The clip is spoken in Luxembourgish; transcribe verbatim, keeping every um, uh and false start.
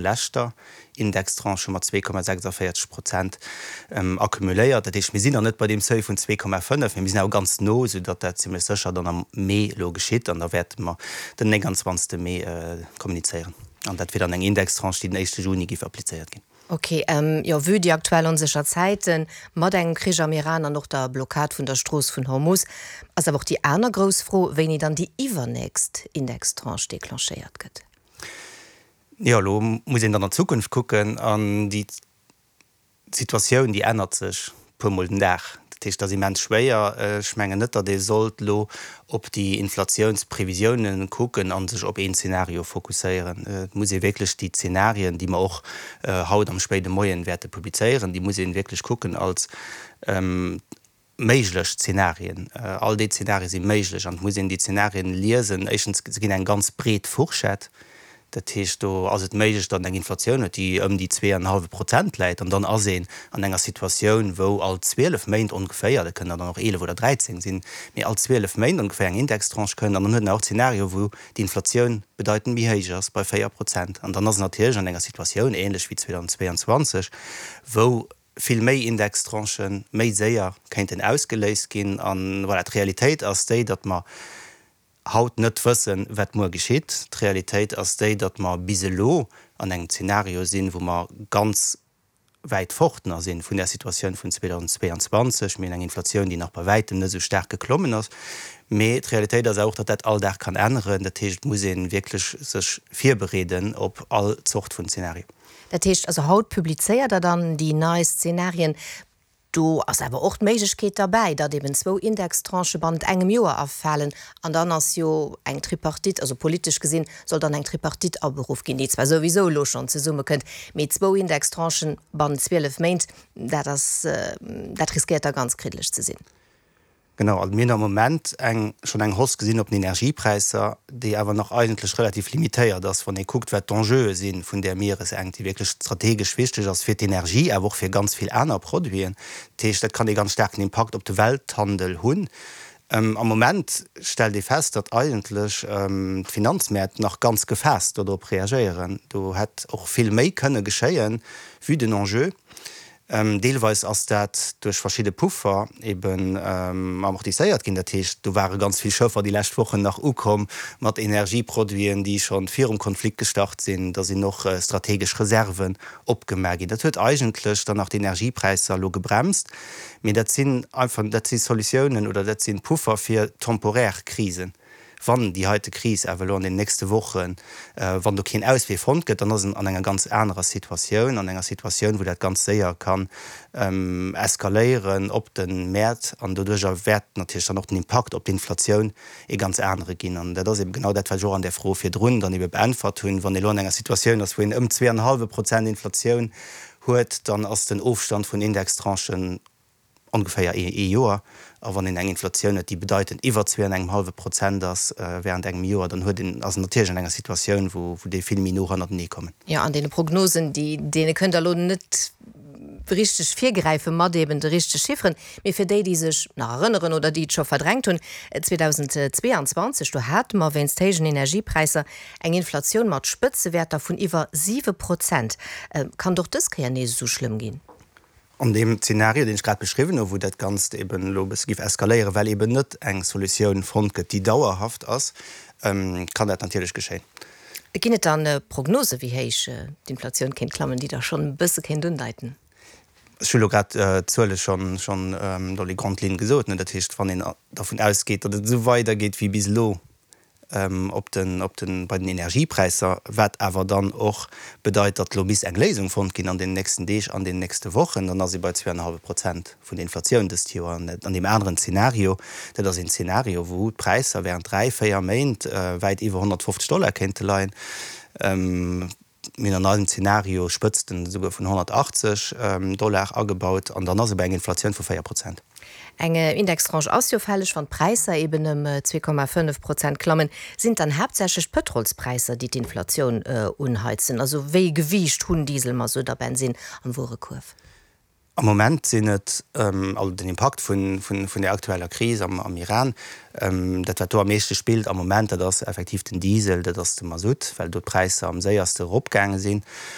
leschter Indextranche mat zwee Komma sechsundvierzeg Prozent accumuléiert. Dat heescht, mir sinn nach net bei deem Seuil vun zwee Komma fënnef, mee mir sinn awer ganz no, soudatt dat zimlech sécher dann am Mee elo geschitt. An da wäerte mer den nénganzwanzegste Mee kommunizéieren. An dat wier dann eng Indextranche, déi den éischte Juni géif applizéiert ginn. Ok, jo, vue déi aktuell onsécher Zäiten, mat engem Krich am Iran an och der Blockad vun der Strooss vun Hormus, ass awer och déi aner grouss Fro, wéini dann déi iwwernächst Indextranche declenchéiert gëtt. Jo, elo muss een dann an d'Zukunft kucken an déi Situatioun, déi ännert sech puer mol den Dag. Dat heescht, dat ass immens schwéier. Ech mengen net, datt ee sollt elo op déi Inflatiounsprevisiounen kucken a sech op een Zeenario fokusséieren. Et muss ee wierklech déi Zeenarien, déi mer och haut am spéide Moien wäerte publizéieren, déi muss ee wierklech kucken als méiglech Zenarien. All déi Zenarie si méiglech an et muss een déi Zenarien liesen. Éischtens, se ginn eng ganz breet Fourchette. Dat heescht, do ass et méiglech, datt een eng Inflatioun huet, déi ëm déi zwee an en hallwe Prozent läit. An dann ass een an enger Situatioun, wou all zwielef Méint ongeféier, dat kënnen der dann och eelef oder dräizéng sinn, mee all zwielef Méint ongeféier eng Indextranche kënnt. An dann huet een och Zenario, wou d'Inflatioun bedeitend méi héich ass, bei véier Prozent. An dann ass een natierlech an enger Situatioun, ähnlech wéi zweedausendzweianzwanzeg, wou vill méi Indextranchen méi séier kéinten ausgeléist ginn. An voilà, d'Realitéit ass déi, datt mer haut net wëssen, wat muer geschitt. D'Realitéit ass déi, datt mer bis elo an engem Zeenario sinn, wou mer ganz wäit fort nach si vun där Situatioun vun zweedausendzweianzwanzeg. Mir hunn eng Inflatioun, déi nach bei wäitem net esou staark geklommen ass. Mee d'Realitéit ass awer och, datt dat all Dag kann änneren. Dat heescht, et muss ee wierklech sech virbereeden op all Zort vun Zeenario. Dat heescht also, haut publizéiert Der dann déi nei Szenarien. Do ass awer och d'Méiglechkeet derbäi, datt eben zwou Indextranchë bannent engem Joer erfalen. An dann ass jo eng Tripartite, also politesch gesinn, soll dann eng Tripartite aberuff ginn, déi zwar souwisou elo schonn zesummekënnt, mee zwou Indextranchen bannent zwielef Méint, dat ass, dat riskéiert da ganz kriddeleg ze sinn. Genau, also mir hunn am Moment eng, schonn eng Hausse gesinn op den Energiepräisser, déi awer nach eigentlech relativ limitéiert ass, wann ee kuckt, wat d'Enjeue si vun där Mieresenkt, déi wierklech strategesch wichteg ass fir d'Energie, awer och fir ganz vill aner Produiten. Dat heescht, dat kann ee ganz staarken Impakt op de Welthandel hunn. Am Moment stellt ee fest, datt eigentlech d'Finanzmäert nach ganz gefaasst dodrop reagéieren. Do hätt och vill méi kënne geschéien, vue den Enjeu. Deelweis ass dat duerch verschidde Puffer eben amortisséiert ginn. Dat heescht, do ware ganz vill Schëffer déi lescht Wochen nach ukomm mat Energieproduiten, déi scho virum Konflikt gestart sinn. Da sinn och strategesch Reserven opgemaach ginn. Dat huet eigentlech dann nach d'Energiepräisser elo gebremst. Mee dat sinn einfach, dat si Solutiounen oder dat si Puffer fir temporär Krisen. Wann déi heite Kris awer elo an den nächste Wochen, wann do keen Auswee fonnt gëtt, dann ass en an enger ganz anerer Situatioun, an enger Situatioun, wou dat ganz séier kann eskaléieren op de Mäert. An doduerjer wäert natierlech dann och den Impakt op d'Inflatioun ee ganz anere ginn. An dat ass ebe genau dat, wat ech och an där Fro virdrun dann ebe beäntwert hunn. Wann ee elo an enger Situatioun ass, wou een ëm zwee an e hallwe Prozent Inflatioun huet, dann ass den Ofstand vun Indextranchen ongeféier ee Joer. A wann een eng Inflatioun huet, déi bedeitend iwwer zwee an engem hallwe Prozent ass während engem Joer, dann huet een, ass een natierlech an enger Situatioun, wou déi vill méi no hannertenee kommen. Jo, an deene Prognosen, déi, deene kënnt Der elo net richteg virgräife mat eben de richtege Chifferen. Mee fir déi, déi sech nach erënneren oder déi et scho verdrängt hunn, zweedausendzweeanzwanzeg, do hate mer wéinst héijen Energiepräisser eng Inflatioun mat Spëtzewäerter vun iwwer siwe Prozent. Kann et och dës Kéier nees esou schlëmm ginn? An deem Zeenario, deen ech grad beschriwwen hu, wou dat Ganzt eben elo e bësse géif eskaléieren, well eben net eng Solutioun fonnt gëtt, déi dauerhaft ass, kann dat natierlech geschéien. Ginn et dann Prognosen, wéi héich d'Inflatioun kéint klammen, déi Der schonn e bësse kéint undeiten? Ech hu lo grad d'Zuele schonn dans les grandes lignes gesot. Dat heescht, wann een dervun ausgeet, datt et esou weidergeet wéi bis elo op den, op den, bei den Energiepräisser, wat awer dann och bedeit, datt elo misst eng Léisung fonnt ginn an den nächsten Deeg, an den nächste Wochen, dann ass ee bei zwee an e hallwe Prozent vun der Inflatioun dëst Joer. An an deem aneren Zeenario, dat ass een Zeenario, wou d'Präisser während dräi, véier Méint wäit iwwer honnertfofzeg Dollar kéinte leien, Mir hunn an eisem Zeenario Spëtzten esouguer vun honnertachtzeg Dollar agebaut an dann ass et bei eng Inflatioun vu véier Prozent. Eng Indextranche ass jo fälleg, wann d'Präisser eben ëm zwee Komma fënnef Prozent klammen. Sinn et dann haaptsächlech d'Pëtrolspräisser, déi d'Inflatioun unheizen? Also wéi e Gewiicht hunn Diesel, Masutt a Bensinn am Wuerekuerf? Am Moment sinn et, also den Impakt vun der aktueller Kris am Iran, dat wat do am meeschte spillt am Moment, dat ass effektiv den Diesel, dat ass de Masutt, well do d'Präisser am séierste eropgaange sinn.